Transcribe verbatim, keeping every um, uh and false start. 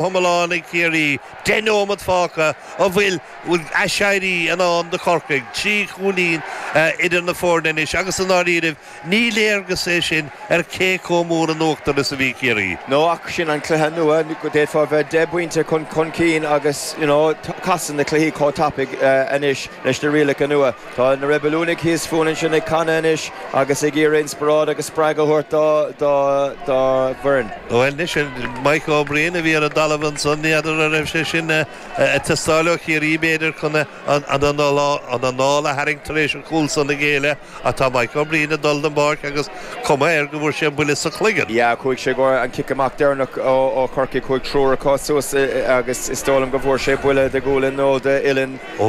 Hiomlán ag Ciarraí, deich nóiméad fágtha, an bhfuil bhfuil aiséirí i ndán do Chorcaigh, trí chúilín idir na foirne anois agus i ndáiríribh ní léargas é sin ar cé chomh mór in uachtar is a bhí Ciarraí. No ach sin an cluiche nua, d'fhéadfá bheith deich bpointe chun chun cinn agus you know, casann na cluichí chomh tapaidh anois leis na rialacha nua. Tá na Reibiliúnaigh thíos fúinn ansin ag canadh anois agus ag iarraidh inspioráid agus spreagadh a thabhairt dá dá dá bhfoireann. Bhuel anois Mike O'Brien a bhí ar an dtalamh ansan, n'fheadar an raibh sé sin ag teastáil ó Chiarraí b'fhéidir chun an anáil a tharraingt tar éis an chúl san a ghéilleadh ach tá Mike O'Brien ag dul den bpáirc agus cuma air go bhfuair sé buille sa chloigeann. Yeah, chuaigh sé go an cic amach deireanach ó Chorcaigh, chuaigh triúr acu suas agus is dóigh liom go bhfuair sé buille de ghualainn nó d'uillinn. Ó